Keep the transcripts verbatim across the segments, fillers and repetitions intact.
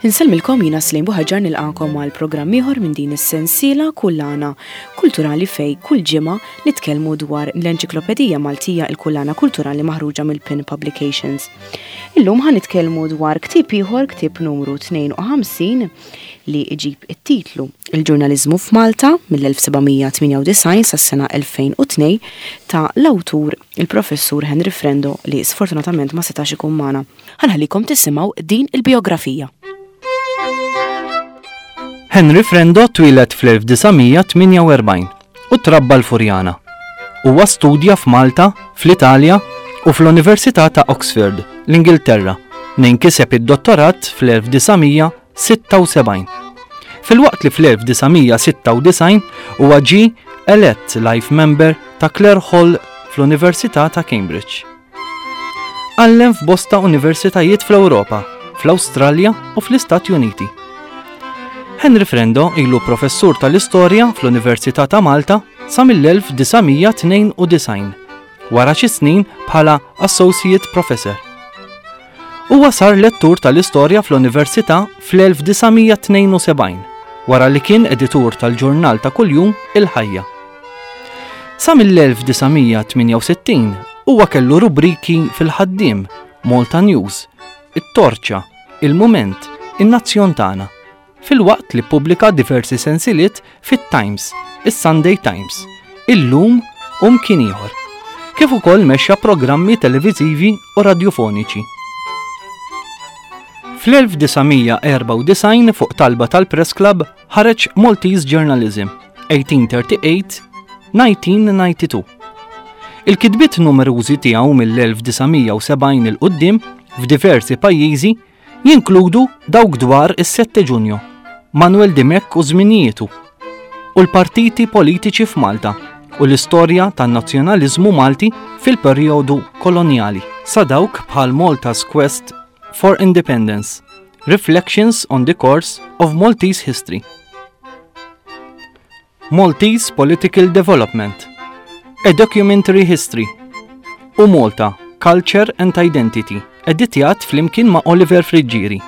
Insellmilkom, jiena Slim Buħaġar, nilqagħkom għal programm ieħor minn din is-sensiela Kullana Kulturali, fejn kull ġimgħa nitkellmu dwar l-Enċiklopedija Maltija, il-Kullana Kulturali maħruġa mill-Pin Publications. Illum ħa nitkellmu dwar ktieb ieħor, ktieb numru tnejn u ħamsin, li iġib it-titlu Il-ġurnaliżmu f'Malta mill-elf seba' mija tmienja u disgħin sas-sena elfejn u tnejn, ta' l-awtur il-professur Henry Frendo, li sfortunatament ma setax ikun magħna. Ħa nħallikom tisimgħu din il-biografija. Henry Frendo twieled fl-elf disa' mija tmienja u erbgħin u trabba l-Furjana. Huwa studja f'Malta, fl-Italja u fl-Università ta' Oxford, l-Ingilterra, fejn kiseb id-dottorat fl-elf disa' mija sitta u sebgħin. Filwaqt li fl-elf disa' mija sitta u disgħin huwa ġie elett life member ta' Clare Hall fl-Università ta' Cambridge. Għallem f'bosta universitajiet fl-Ewropa, fl-Awstralja u fl-Istati Uniti. Henry Frendo ilu professur tal-istorja fl-Università ta' Malta sa mill-elf disa' mija tnejn u disgħin, wara xi snin bħala Associate Professor. Huwa sar lettur tal-istorja fl-Università fl-elf disa' mija tnejn u sebgħin, wara li kien editur tal-ġurnal ta' kuljum Il-Ħajja. Sa mill-elf disa' mija tmienja u sittin huwa kellu rubriki fil-Ħaddiem, Malta News, It-Torċa, Il-Mument, In-Nazzjon Tagħna, filwaqt li pubblika diversi sensiliet fit-Times, is-Sunday Times, Illum u mkien ieħor, kif ukoll mexxa programmi televiżivi u radjofoniċi. Fl-elf disa' mija erbgħa u disgħin, fuq talba tal-Press Club, ħareġ Maltese Journalism eighteen thirty-eight nineteen ninety-two. Il-kitbiet numerużi tiegħu mill-elf disa' mija sebgħin 'il quddiem f'diversi pajjiżi jinkludu dawk dwar is-sette Ġunju, Manuel Dimech u żminijietu, u l-partiti politiċi f'Malta u l-istorja tan-nazzjonaliżmu Malti fil-perjodu koloniali, sa dawk bħal Malta's Quest for Independence, Reflections on the Course of Maltese History, Maltese Political Development, A Documentary History u Malta, Culture and Identity, editjat flimkien ma' Oliver Friggieri.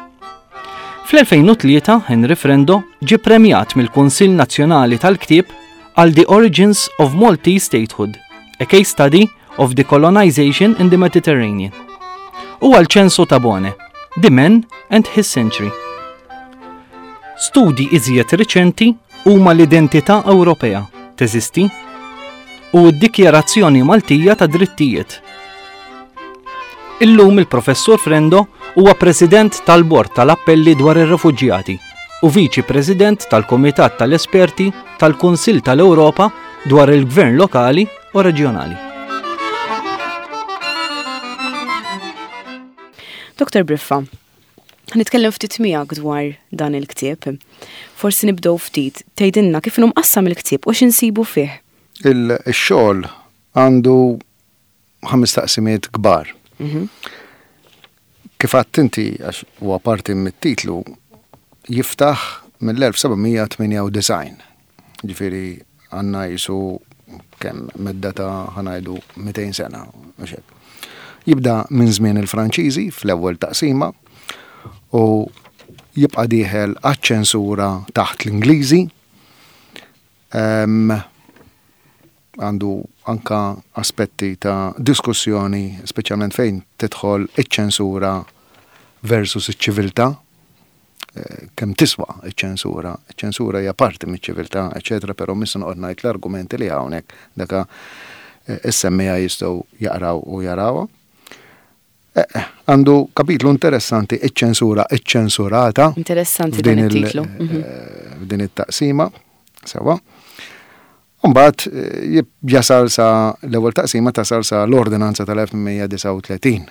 Fl-elfejn u tlieta Henry Frendo ġie premjat mill-Kunsill Nazzjonali tal-Ktieb għal The Origins of Maltese Statehood, a case study of the colonization in the Mediterranean, u għal Ċensu Tabone, The Man and His Century. Studi iżjed riċenti huma L-Identità Ewropea teżisti u d-Dikjarazzjoni Maltija ta' Drittijiet. Illum il-Professur Frendo huwa President tal-Bord tal-Appelli dwar ir-Refuġjati u Viċi President tal-Kumitat tal-Esperti tal-Kunsill tal-Ewropa dwar il-Gvern Lokali u Reġjonali. Doktor Briffa, nitkellem ftit miegħek dwar dan il-ktieb. Forsi nibdew ftit tgħidilna kif inhu mqassam il-ktieb u x'insibu fih. Il-xogħol għandu ħames taqsimiet kbar. Kif għedt inti, għax huwa parti mit-titlu, jiftaħ mill-elf seba' mija tmienja u disgħin. Ġifieri għandna jisu kemm medda ta', ħa ngħidu, mitejn sena. Mhux hekk. Jibda minn żmien il-Franċiżi fl-ewwel taqsima u jibqa' dieħel għaċ-ċensura taħt l-Ingliżi. Em, Għandu anka aspetti ta' diskussjoni, speċjalment fejn tidħol iċ-ċensura versus iċ-ċiviltà, eh, kemm tiswa iċ-ċensura. Iċ-ċensura hija parti miċ-ċiviltà, eċetera, però mhux se noqgħod ngħid l-argumenti li hawnhekk, daka eh, is-semmija jistgħu jaqraw u jarawha. Eh, eh, Għandu kapitlu interessanti, Iċ-ċensura iċ-ċensurata. Interessanti dan F'din il- it-titlu. Mhm. eh, f'din it-taqsima, sewa. Mbagħad eh, jasal sa l-ewwel taqsima tasal sa l-ordinanza tal-elf tmien mija disgħa u tletin.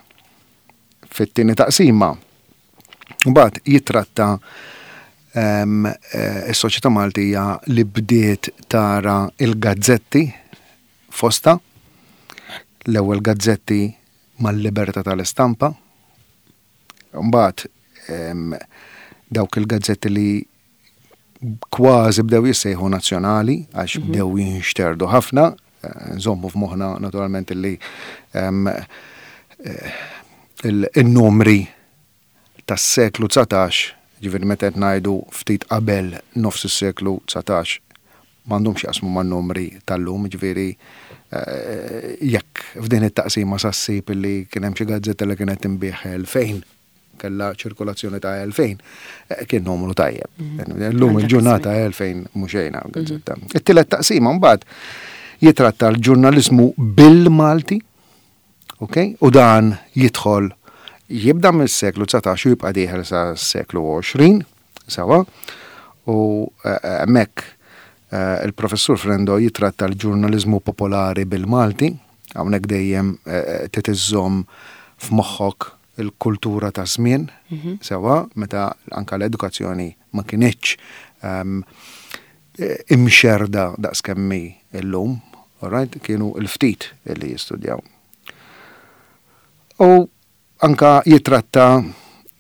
Fit-tieni taqsima mbagħad jitratta em, eh, is-soċjetà Maltija li bdiet tara il-gazzetti fosta, l-ewwel gazzetti mal-libertà tal-istampa. Mbagħad em, dawk il-gazzetti li kważi bdew jissejħu nazzjonali għax bdew jinxterdu ħafna, eh, nżommu f'moħħna naturalment li em, eh, il- il-numri tas-seklu dsatax, Ġifieri meta qed ngħidu ftit qabel nofs is-seklu dsatax, m'għandhomx jaqsmu man-numri tal-lum, ġifieri eh, jekk f'din it-taqsima sa ssib li kien hemm xi gazzetta li kienet tinbiegħ elfejn, kellha ċirkolazzjoni ta' elfejn, eh, kien numru tajjeb. Illum il-ġurnata elfejn mhux xejn gazzetta. It-tielet taqsima mbagħad jitratta l-ġurnaliżmu bil-Malti, ok? U dan jidħol jibda mis-seklu dsatax u jibqa' dieħel sa seklu għoxrin, sawa, u eh, hemmhekk eh, il-professur Frendo jitratta l-ġurnaliżmu popolari bil-Malti, hawnhekk dejjem eh, trid iżżomm f'moħħok il-kultura ta' żmien, sewa, meta anka l-edukazzjoni ma kinitx ehm, imxerda daqs kemm hi illum, alright, kienu l-ftit li jistudjaw. U anka jitratta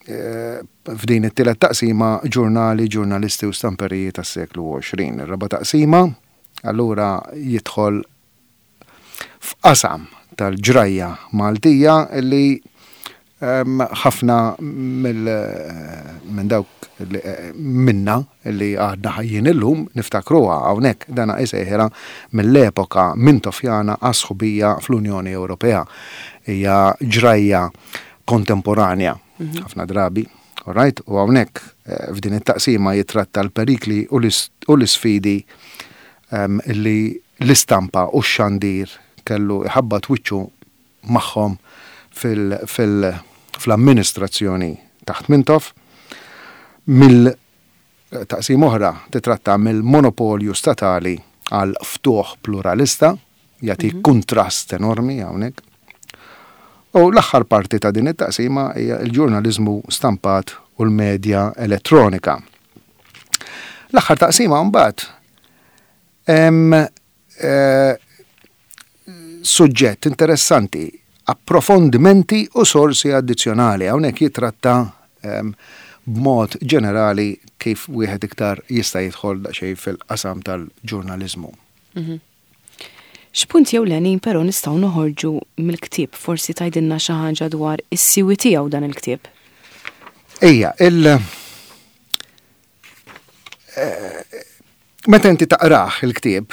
eh, f'din it-tielet taqsima ġurnali, ġurnalisti u stamperiji tas-seklu għoxrin. Ir-raba' taqsima allura jidħol f'qasam tal-ġrajja Maltija li em, ħafna minn dawk li- eh, minna li għadna ħajjin illum niftakruha. Hawnhekk dana isejħilha mill-epoka Mintofjana għas-sħubija fl-Unjoni Ewropea. Hija ġrajja kontemporanja ħafna drabi. Alright? U hawnhekk eh, f'din it-taqsima jitratta l-perikli u l-isfidi em, li l-istampa u x-xandir kellu iħabbat wiċċu magħhom fil-amministrazzjoni taħt Mintoff. Mill-taqsim oħra titratta mill-monopolju statali għal ftuħ pluralista, jagħti kontrast enormi hawnhekk. U l-aħħar parti ta' din it-taqsima hija l-ġurnaliżmu stampat u l-medja elettronika. L-aħħar taqsima mbagħad hemm eh, suġġett interessanti, approfondimenti u sorsi addizzjonali. Hawnhekk jitratta em, b'mod ġenerali kif wieħed iktar jista' jidħol daqsxejn fil-qasam tal-ġurnaliżmu. X'punt ewlenin però nistgħu noħorġu mill-ktieb? Forsi tgħidilna xi ħaġa dwar is-siwi tiegħu dan il-ktieb. Ejja, il eh, meta inti taqrah il-ktieb,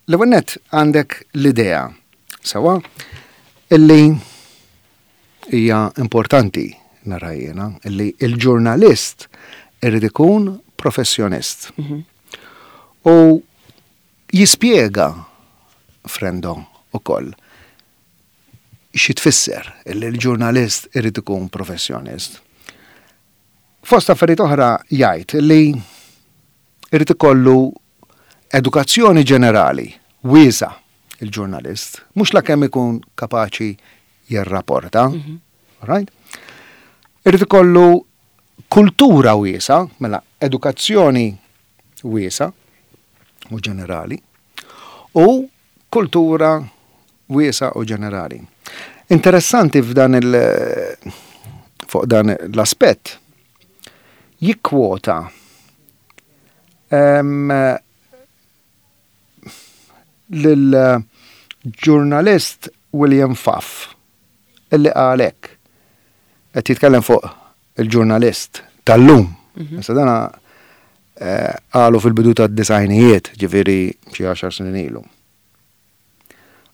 l-ewwel nett għandek l-idea sewa illi hija importanti nara jiena illi il-ġurnalist irid ikun professjonist. U jispjega Frendo ukoll xi tfisser illi l-ġurnalist irid ikun professjonist. Fost affarijiet oħra jgħid li irid ikollu edukazzjoni ġenerali wiesa il-ġurnalist, mhux la kemm ikun kapaċi jirrapporta, right? Irid ikollu kultura wiesa, mela edukazzjoni wiesa u ġenerali, u kultura wiesa u ġenerali. Interessanti f'dan il fuq dan l-aspett jikkwota em, lil-ġurnalist William Pfaff illi qalek qed jitkellem fuq il-ġurnalist tal-lum. Issa dana eh, qalu fil-bidu tad-disgħinijiet, ġifieri xi għaxar snin ilu.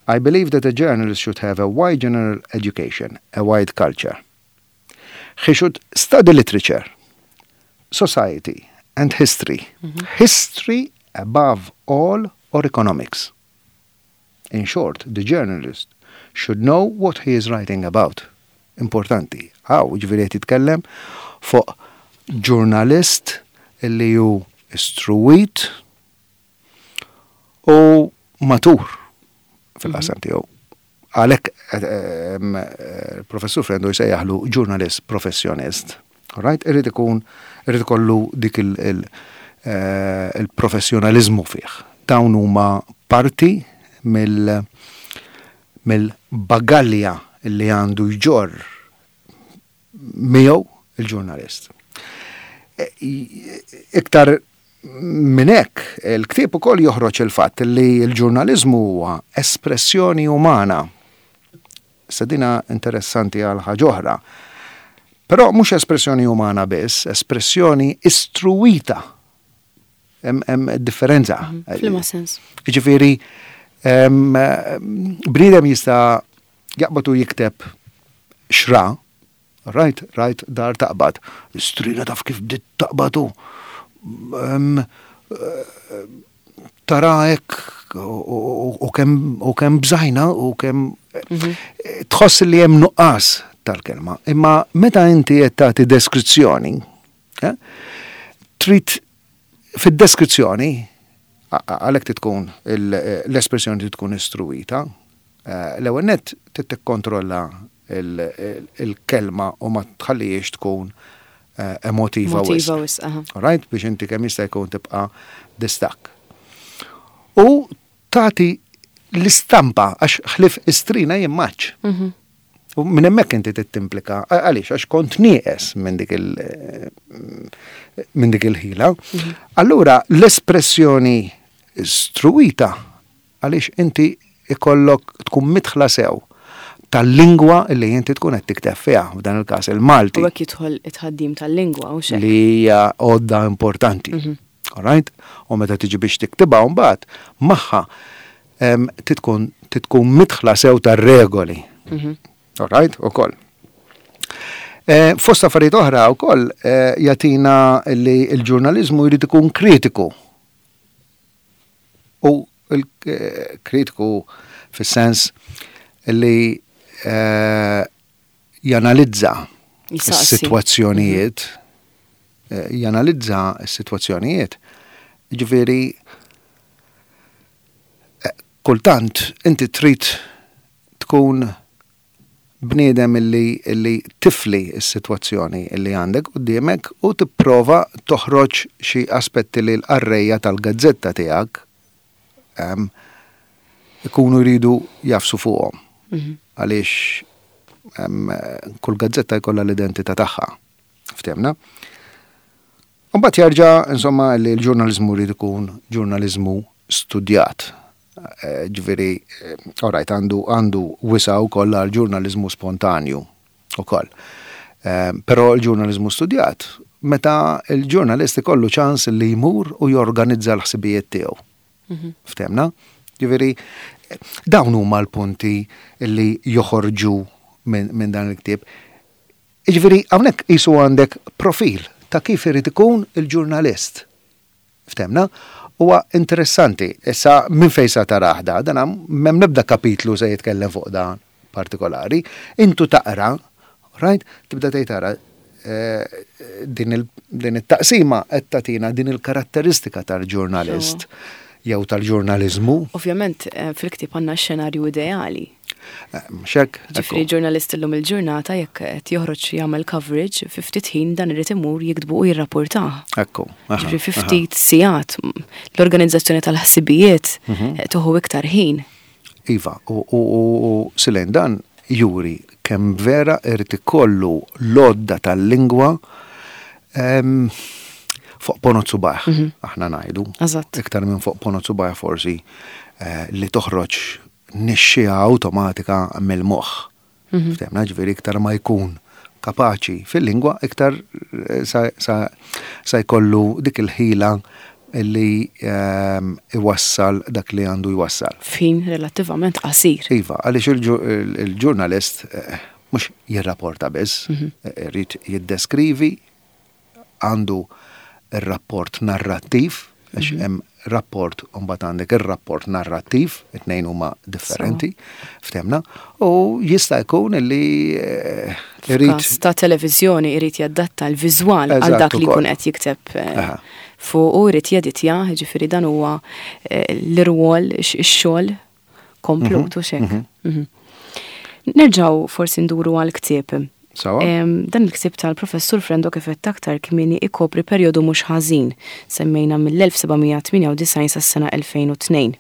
"I believe that a journalist should have a wide general education, a wide culture. He should study literature, society, and history. History above all, or economics. In short, the journalist should know what he is writing about." Importanti. Hawn, ġifieri qed jitkellem fuq ġurnalist illi hu istruwit u matur fil-qasam tiegħu. Għalhekk il-professur Frendo jsejjaħlu ġurnalist professjonist. Right? Irid ikun irid ikollu dik il- il- eh, il-professjonalizmu fih. Dawn huma parti mill mill-bagalja li għandu jġorr miegħu il-ġurnalist. E, Iktar minn hekk, il-ktieb ukoll joħroġ il-fatt li l-ġurnaliżmu huwa espressjoni umana. Issa dina interessanti għal ħaġa oħra. Però mhux espressjoni umana biss, espressjoni istruwita. Hemm differenza. Mhm. F'liema sens? Jiġifieri, bniedem jista' jaqbad u jikteb xra, right, right, dar taqbad. Strina taf kif bdiet taqbadu. Tara hekk u kemm bżajna u kemm mhm. tħoss li hemm nuqqas tal-kelma. Imma meta inti qed tagħti deskrizzjoni, eh, trid fid-deskrizzjoni għalhekk tkun l-espressjoni tkun istruwita, eh, l-ewwel nett trid tikkontrolla il-kelma u ma tħallihiex tkun eh, emotiva wisq. Right? Biex inti kemm jista' jkun tibqa' distakk. U tagħti l-istampa għax ħlief istrina jien m'għadx. Mhm. U minn hemmhekk inti tittimplika għaliex għax kont nieqes minn dik il minn dik il-ħila. Mhm. Allura l-espressjoni struwita għaliex inti ikollok tkun midħla sew tal-lingwa li inti tkun qed tikteb fiha, f'dan il-każ il-Malti. U hekk jidħol it-tħaddim tal-lingwa u xek. Li hija għodda importanti. Mhm. All right? U meta tiġi biex tiktibha mbagħad magħha titkun titkun midħla sew tar-regoli. Mhm. All right? Ukoll. Eh, fost affarijiet oħra wkoll eh, jagħtina li l-ġurnaliżmu jrid ikun kritiku. U il-kritiku fis-sens li eh, janalizza s-sitwazzjonijiet, eh, janalizza s-sitwazzjonijiet. Ġifieri, eh, kultant inti trid tkun bniedem illi, illi tifli s-sitwazzjoni illi għandek quddiemek u tipprova toħroġ xi aspetti li l-qarrejja tal-gazzetta tiegħek em, ikunu jridu jafsu fuqhom. Mhm. Għaliex em, kull gazzetta jkollha l-identità tagħha. Ftehmna? Mbagħad jerġa' insomma li l-ġurnaliżmu jrid ikun ġurnaliżmu studjat. Eh, ġifieri, eh, all right, għandu għandu wisa' wkoll għal ġurnaliżmu spontanju ukoll. Eh, però l-ġurnaliżmu studjat, meta l-ġurnalist ikollu ċans li jmur u jorganizza l-ħsibijiet tiegħu. Mhm. Ftehmna? Ġifieri, dawn huma l-punti li joħorġu minn min dan il-ktieb. Ġifieri, hawnhekk qisu għandek profil ta' kif irid ikun il-ġurnalist. Ftehmna? Huwa interessanti. Issa minn fejn sa tarah da, dan m'hemm nebda kapitlu se jitkellem fuq dan partikolari. Intu taqra, right? Tibda tgħid tara eh, din it-taqsima qed tagħtina din il-karatteristika tal-ġurnalist jew tal-ġurnaliżmu. Ovvjament eh, fil-ktieb għandna xenarju ideali. Eh, xek. Ġifieri ġurnalist illum il-ġurnata jekk qed joħroġ jagħmel coverage fi ftit ħin dan irid imur jiktbu u jirrapportah. Ekku. Ġifieri fi ftit sigħat l-organizzazzjoni tal-ħsibijiet mhm. eh, tuħu iktar ħin. Iva, u Silen dan juri kemm vera irid ikollu l-għodda tal-lingwa fuq ponot subgħajh, mhm. aħna ngħidu. Iktar minn fuq ponot subgħajh forsi eh, li toħroġ nixxija awtomatika mill-moħħ. Mhm. Ftehmna ġifieri iktar ma jkun kapaċi fil-lingwa, iktar eh, sa jkollu dik il-ħila li ehm, iwassal dak li għandu jwassal. F'ħin relattivament qasir. Iva, għaliex il-ġurnalist eh, mhux jirrapporta biss, mhm. eh, irid jiddeskrivi, għandu ir-rapport narrattiv, għax mhm. hemm rapport u mbagħad għandek ir-rapport narrattiv, it-tnejn huma differenti, ftehmna, u jista' jkun li eh, irid ta' televiżjoni irid jadatta l-viżwal għal dak li jkun qed jikteb eh, fuq u jrid jeditja, ġifieri dan huwa eh, l-irwol ix-xogħol komplut u xek. Mhm, mhm. Nerġgħu forsi nduru għal-ktieb. Dan il-ktieb tal-professur Frendo kif għedt aktar kmieni ikopri perjodu mhux ħażin, semmejna mill-elf seba' mija tmienja u disgħin sas-sena elfejn u tnejn.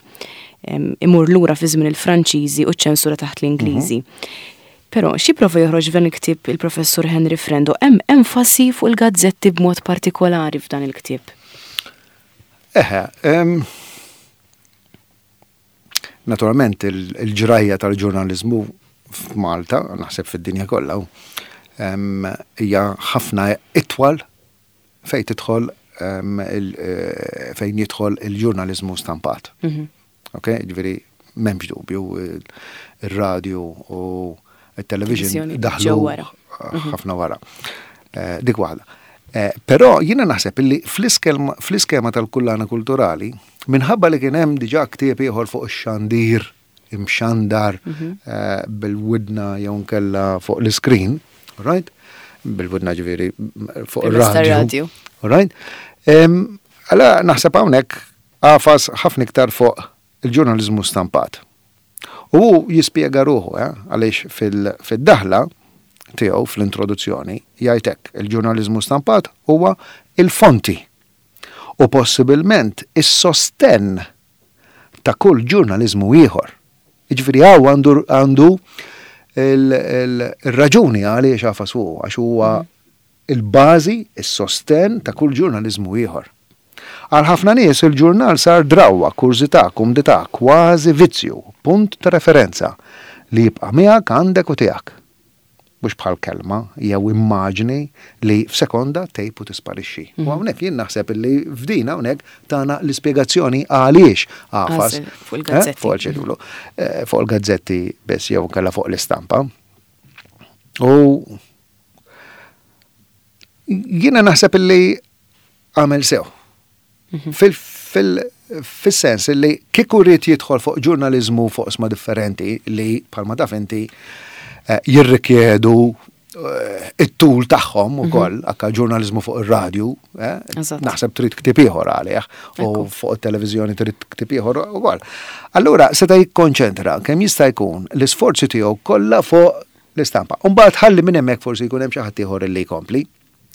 Imur lura fi żmien il-Franċiżi u ċ-ċensura taħt l-Ingliżi. Mhm. Però xi prova joħroġ f'dan il-ktieb il-professur Henry Frendo hemm enfasi fuq il-gazzetti b'mod partikolari f'dan il-ktieb. Eħe, naturalment il-ġrajja tal-ġurnalizmu f'Malta, naħseb fid-dinja kollha, Hija ħafna itwal fejn tidħol eh, fejn jidħol il-ġurnaliżmu stampat. Mhm. Ok, ġifieri m'hemmx dubju, il-radio u il-television daħlu mhm. ħafna wara. Eh, dik waħda. Eh, però jiena naħseb illi fl-iskema tal-kullana kulturali, minħabba li kien hemm diġà ktieb ieħor fuq ix-xandir imxandar mhm. eh, bil-widna jew nkella fuq l-screen, right? Bil-widna, ġifieri fuq ir-radio. Right? Għala naħseb hawnhekk għafas ħafna iktar fuq il-ġurnaliżmu stampat. U jispjega ruħu, eh, għaliex fil-daħla tiegħu, fl-introduzzjoni, jgħid hekk: "Il-ġurnaliżmu stampat huwa il-fonti u possibilment is-sostenn ta' kull ġurnaliżmu ieħor." Jiġifieri hawn għandu għandu il-raġuni għaliex għafas fuq, għax huwa il-bażi, is-sostenn ta' kull ġurnaliżmu ieħor. "Għal ħafna nies il-ġurnal sar drawwa, kurżità, kumdità, kważi vizzju, punt ta' referenza li jibqa' miegħek, għandek u tiegħek. Mhux bħal kelma jew immaġni li f'sekonda tgħib u tisparixxi." U mhm. hawnhekk jien naħseb li f'din hawnhekk tana l-ispjegazzjoni għaliex għafas fuq il-gazzetti. Fuq eh, fuq il-gazzetti biss jew kella fuq l-istampa. U jiena naħseb li għamel sew. Mhm. Fil-sens li kieku rrid jidħol fuq ġurnalizmu fuq oqsma differenti li, bħalma taf inti, eh, jirrikjedu eh, it-tul tagħhom mhm. ukoll, anka ġurnalizmu fuq ir-radju, eh, naħseb trid ktib ieħor għalih, u fuq it-televiżjoni trid ktib ieħor ukoll. Allura seta' jikkonċentra kemm jista' jkun l-isforzi tiegħu kollha fuq l-istampa. Umbagħad ħalli minn hemmhekk forsi jkun hemm xi ħadd ieħor li jkompli.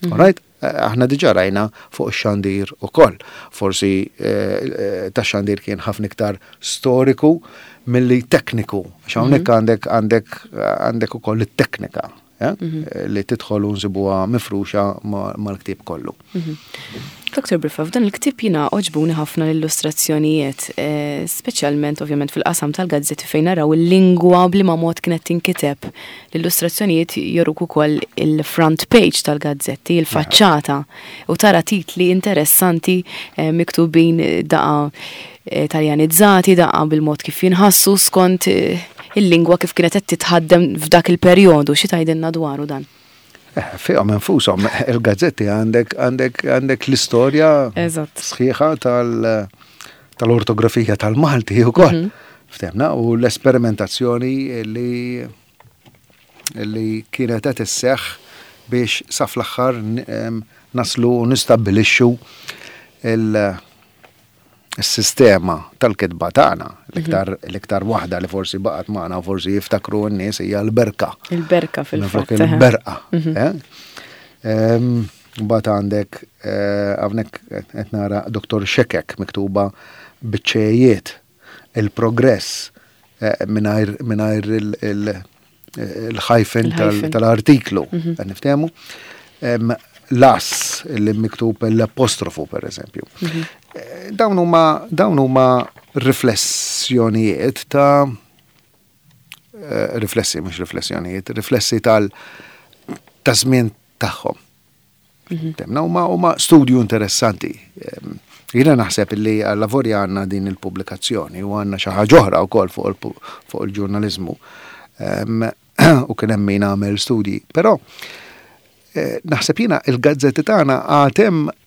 Mhm. Alright? Eh, aħna diġà rajna fuq ix-xandir ukoll. Forsi eh, ta' xandir kien ħafna iktar storiku milli tekniku. Għax hawnhekk mhm. għandek għandek għandek ukoll it-teknika eh, mhm. li tidħol u nsibuha mifruxa mal-ktieb kollu. Doktor Briffa, f'dan il-ktieb jiena għoġbuni ħafna l-illustrazzjonijiet, eh, speċjalment ovvjament fil-qasam tal-gazzetti fejn naraw il-lingwa b'liema mod kienet tinkiteb. L-illustrazzjonijiet juruk ukoll il-front page tal-gazzetti, il-faċċata, u tara titli interessanti eh, miktubin daqqa eh, taljanizzati, daqqa bil-mod kif jinħassu skont il-lingwa kif kienet qed titħaddem f'dak il-perjodu. Xi tgħidilna dwaru dan? Eh, fihom infushom il-gazzetti għandek għandek għandek l-istorja sħiħa tal- tal-ortografija tal-Malti ukoll. Mhm. Ftehmna, u l-esperimentazzjoni li li kienet qed isseħħ biex sa fl-aħħar naslu u nistabbilixxu il- sistema tal-kitba tagħna. L-iktar l-iktar waħda li forsi baqgħet magħna u forsi jiftakru n-nies hija l-berka. Il-berka fil-fatt. Il-berqa. Mhm. Eh? Mbagħad għandek eh, hawnhekk qed nara Doktor Xekek miktuba biċ-ċejiet, il-progress eh, mingħajr mingħajr il-hyphen tal-artiklu. Mhm. Niftehmu? L-as li miktub l-apostrofu, per eżempju. Mhm. Eh, dawn huma dawn huma riflessjonijiet ta' eh, riflessi, mhux riflessjonijiet, riflessi tal ta' żmien tagħhom. Mhm. Temna huma huma studju interessanti. Jiena naħseb li għall-lavorja għandna din il-pubblikazzjoni u għandna xi ħaġa oħra wkoll fuq il-ġurnaliżmu. U kien hemm min għamel studji. Però eh, naħseb jiena il-gazzetti tagħna għad hemm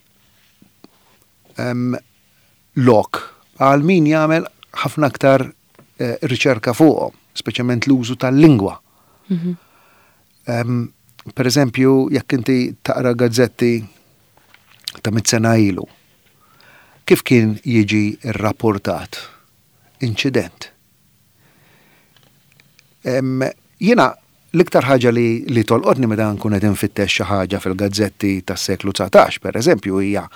lok għal min jagħmel ħafna aktar eh, riċerka fuqhom, speċjalment l-użu tal-lingwa. Mhm. Per eżempju, jekk inti taqra gazzetti ta' mitt sena ilu, kif kien jiġi rrapportat inċident? Jiena l-iktar ħaġa li, li tolqotni meta nkun qed infittex xi ħaġa fil-gazzetti tas-seklu dsatax, per eżempju, hija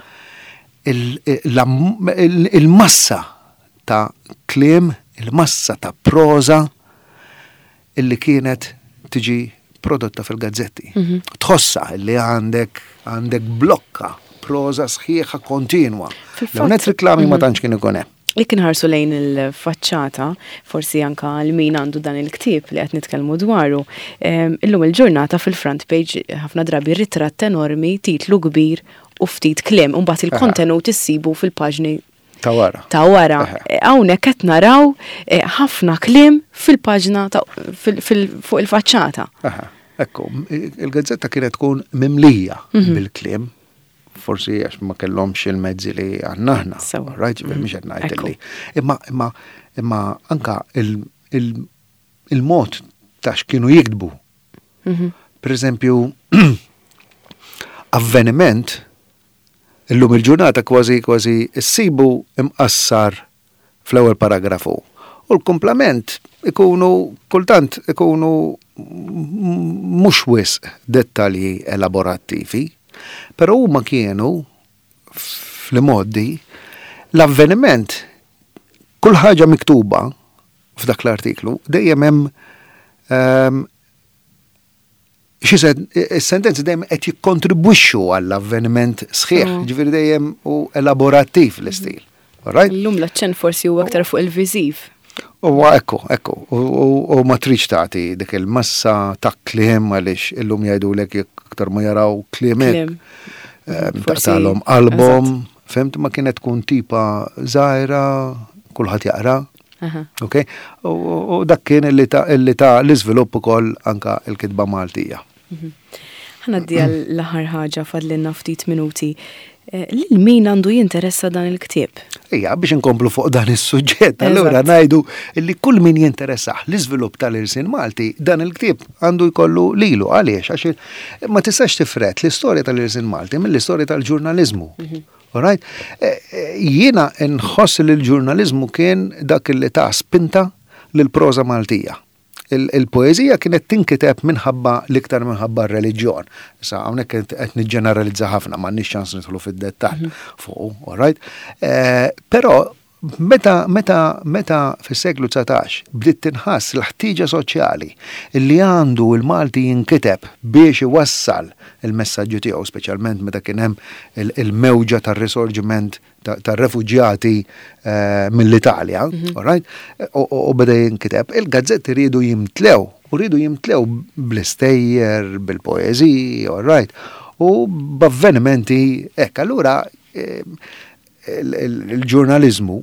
il-massa ta' kliem, il-massa ta' proza illi kienet tiġi prodotta fil-gazzetti. Mhm. Tħossa illi għandek għandek blokka proza sħiħa kontinwa. L-għonet riklami ma mhm. tantx kien ikun hemm. Jekk inħarsu lejn il-faċċata, forsi anka għal min għandu dan il-ktieb li qed nitkellmu dwaru, illum il-ġurnata fil-front page ħafna drabi ritratt enormi, titlu kbir u ftit kliem, u mbagħad il-kontenut issibu fil-paġni Ta' wara. Ta' wara. Hawnhekk qed naraw eh, ħafna kliem fil-paġna fuq il-faċċata. Ekku, il-gazzetta kienet tkun mimlija mhm. bil-kliem, forsi għax ma kellhomx il-mezzi li għandna aħna. Right, mhm. mhux qed ngħid li. Imma imma imma anka il-mod ta' x'kienu jiktbu. Mhm. Per eżempju, avveniment illum il-ġurnata kważi kważi issibu imqassar fl-ewwel paragrafu. U l-komplement ikunu kultant ikunu mhux wisq dettalji elaborattivi, però huma kienu fl-modi l-avveniment, kull ħaġa miktuba f'dak l-artiklu dejjem hemm ehm, xi sentenzi dejjem qed jikkontribwixxu għall-avveniment sħiħ, mm. ġifieri dejjem u elaborattiv l-istil. Right? Illum l-aċċent forsi huwa aktar fuq il-viżiv. Huwa ekku, ekku, u ma tridx tagħti dik il-massa ta' kliem għaliex illum jgħidulek jekk aktar ma jaraw kliem hekk. Ehm, taqtalhom qalbhom, fhimt, ma kienet tkun tipa żgħira, kulħadd jaqra. Ok? U dak kien illi ta' illi ta' l-iżvilupp ukoll anka l-kitba Maltija. Mhm. Ħa ngħaddi għall-aħħar ħaġa, fadlilna ftit minuti. Eh, lil min għandu jinteressa dan il-ktieb? Ija, biex inkomplu fuq dan is-suġġett, allura ngħidu li kull min jinteressah l-iżvilupp tal-irsin Malti, dan il-ktieb għandu jkollu lilu. Għaliex? Għax ma tistax tifret l-istorja tal-irsin Malti mill-istorja tal-ġurnaliżmu. Mhm. Alright? Eh, eh, jiena nħoss li l-ġurnaliżmu kien dak li ta' spinta lill-proża Maltija. Il-poeżija kienet tinkiteb minħabba l-iktar minħabba r-reliġjon. Issa hawnhekk qed niġġeneralizza ħafna, m'għandniex ċans nidħlu fid-dettall mhm. fuq, all right? Eh, però meta meta meta fis-seklu dsatax bdiet tinħass l-ħtieġa soċjali li għandu l-Malti jinkiteb biex iwassal il-messaġġu tiegħu, speċjalment meta kien hemm il-mewġa tar-risorġiment tar-refuġjati eh, mill-Italja, mhm. all right? U beda jinkiteb, il-gazzetti riedu jimtlew, u riedu jimtlew bl-istejjer, bil-poeżiji, all right? U b'avvenimenti hekk. Allura eh, il-ġurnaliżmu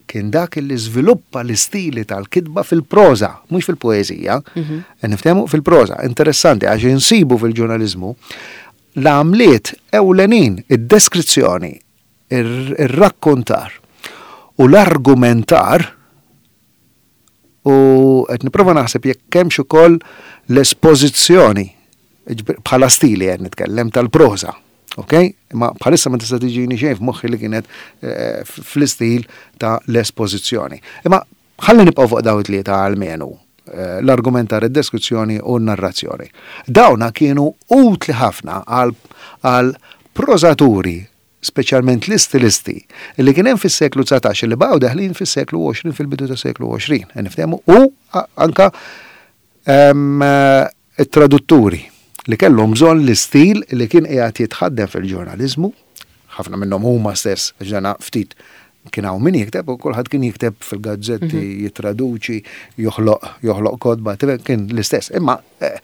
kien dak li żviluppa l-istili tal-kitba fil-proża, mhux fil-poeżija. Mhm. Niftehmu fil-proża. Interessanti għax insibu fil-ġurnaliżmu l-għamliet ewlenin, id-deskrizzjoni, ir-rakkontar u l-argumentar, u qed nipprova naħseb jekk hemmx ukoll l-espożizzjoni bħala stili qed nitkellem tal-proża. Ok? Imma bħalissa ma tista' tiġini xejn f'moħħi li kienet eh, fl-istil ta' l-espożizzjoni. Imma ħalli nibqgħu fuq dawn it-tlieta almenu eh, l-argumentar, id-deskrizzjoni u n-narrazzjoni. Dawna kienu utli ħafna għal prożaturi, speċjalment l-istilisti, li kien hemm fis-seklu dsatax li baqgħu deħlin fis-seklu għoxrin, fil-bidu tas-seklu għoxrin, niftehmu, u anka it-tradutturi li kellhom bżonn l-istil li kien qiegħed jitħaddem fil-ġurnaliżmu, ħafna minnhom huma stess, għax dana ftit kien hawn min jikteb u kulħadd kien jikteb fil-gazzetti, mhm. jittraduċi, joħloq joħloq kotba, kien l-istess. Imma eh,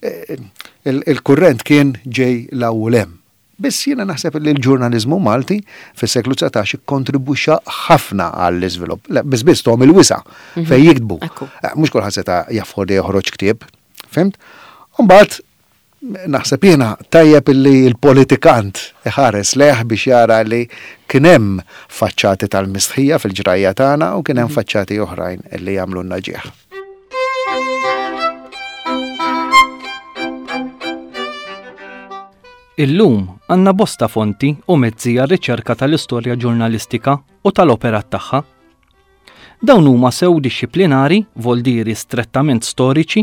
eh, il-kurrent kien ġej l-ewwel hemm. Biss jiena naħseb li l-ġurnaliżmu Malti fis-seklu dsatax ikkontribwixxa ħafna għall-iżvilupp. Biss biss tahom il-wisa' mhm. fejn jiktbu. Eh, mhux kulħadd seta' jaffordja joħroġ ktieb, fhimt? Imbagħad naħseb jiena tajjeb li l-politikant iħares lejh biex jara li kien hemm faċċati tal-mistħija fil-ġrajja tagħna u kien hemm mhm. faċċati oħrajn li jagħmlulna ġieħ. Illum għandna bosta fonti u mezzi għar-riċerka tal-istorja ġurnalistika u tal-operat tagħha. Dawn huma sew dixxiplinari, voldieri strettament storiċi,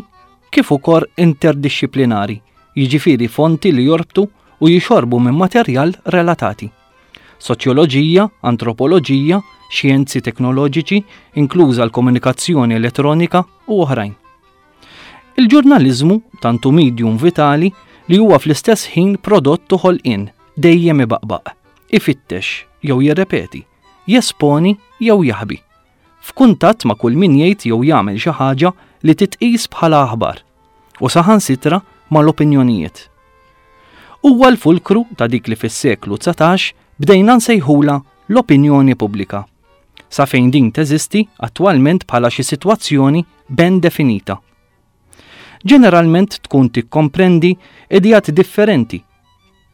kif ukoll interdixxiplinari, jiġifieri fonti li jorbtu u jixorbu minn materjal relatati. Soċjoloġija, antropoloġija, xjenzi teknoloġiċi, inkluża l-komunikazzjoni elettronika u oħrajn. Il-ġurnaliżmu tant hu medium vitali li huwa fl-istess ħin prodott u ħolqien, dejjem ibaqbaq, ifittex jew jirrepeti, Jesponi jew jaħbi. F'kuntatt ma' kull min jgħid jew jagħmel xi ħaġa li titqis bħala aħbar u saħansitra mal-opinjonijiet. Huwa l-fulkru ta' dik li fis-seklu dsatax bdejna nsejħula l-opinjoni pubblika. Sa fejn din teżisti attwalment bħala xi sitwazzjoni ben definita. Ġeneralment tkun tikkomprendi ideat differenti.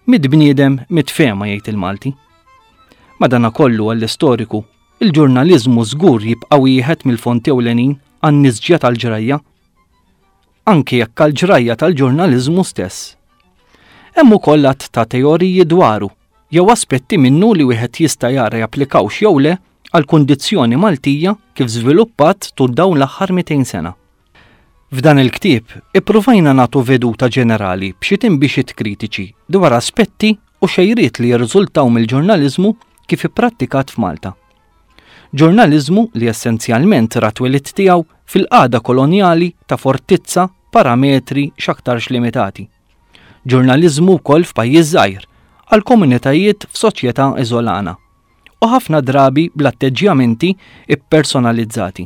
Mitt bniedem mitt fehma, jgħid il-Malti. Madanakollu, għall-istoriku, il-ġurnaliżmu żgur jibqa' wieħed mill-fonti ewlenin għan-nisġja tal-ġrajja. Anke jekk għall-ġrajja tal-ġurnaliżmu stess. Hemm ukoll għadd ta' teoriji dwaru jew aspetti minnu li wieħed jista' jara japplikawx jew le għal kundizzjoni Maltija kif żviluppat tul dawn l-aħħar mitejn sena. F'dan il-ktieb ippruvajna nagħtu veduta ġenerali b'xi tinbixiet kritiċi dwar aspetti u xejriet li jirriżultaw mill-ġurnaliżmu kif ipprattikat f'Malta. Ġurnaliżmu li essenzjalment ra twelid tiegħu fil-qagħda kolonjali ta' fortizza parametri x'aktarx limitati. Ġurnaliżmu wkoll f'pajjiż żgħir għal komunitajiet f'soċjetà iżolana u ħafna drabi bl-atteġġjamenti ippersonalizzati.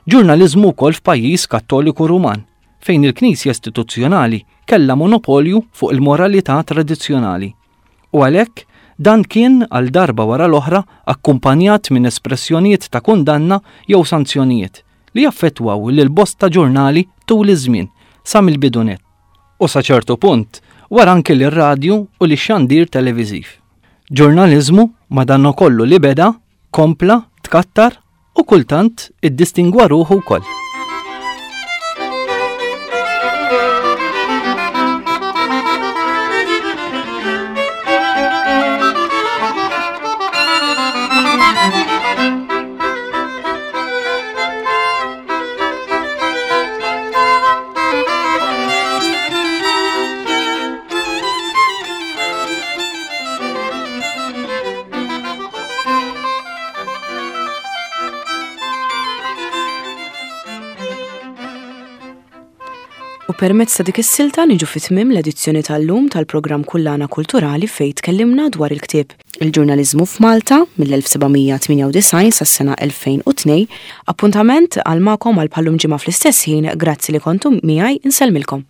Ġurnaliżmu wkoll f'pajjiż Kattoliku Ruman fejn il-Knisja istituzzjonali kellha monopolju fuq il-moralità tradizzjonali. U għalhekk dan kien għal darba wara l-oħra akkumpanjat minn espressjonijiet ta' kundanna jew sanzjonijiet li jaffettwaw lil bosta ġurnali tul iż-żmien sa mill-bidu nett. U sa ċertu punt wara anke lir-radju u lix-xandir televiżiv. Ġurnaliżmu madankollu li beda, kompla, tkattar u kultant iddistingwa ruħu wkoll. U permezz ta' dik is-silta niġu fi tmiem l-edizzjoni tal-lum tal-programm Kullana Kulturali, fejn tkellimna dwar il-ktieb Il-Ġurnaliżmu f'Malta mill-elf seba' mija tmienja u disgħin sas-sena elfejn u tnejn. Appuntament għal magħkom għal bħal-lum ġimgħa fl-istess ħin. Grazzi li kontum miegħi, insellmilkom.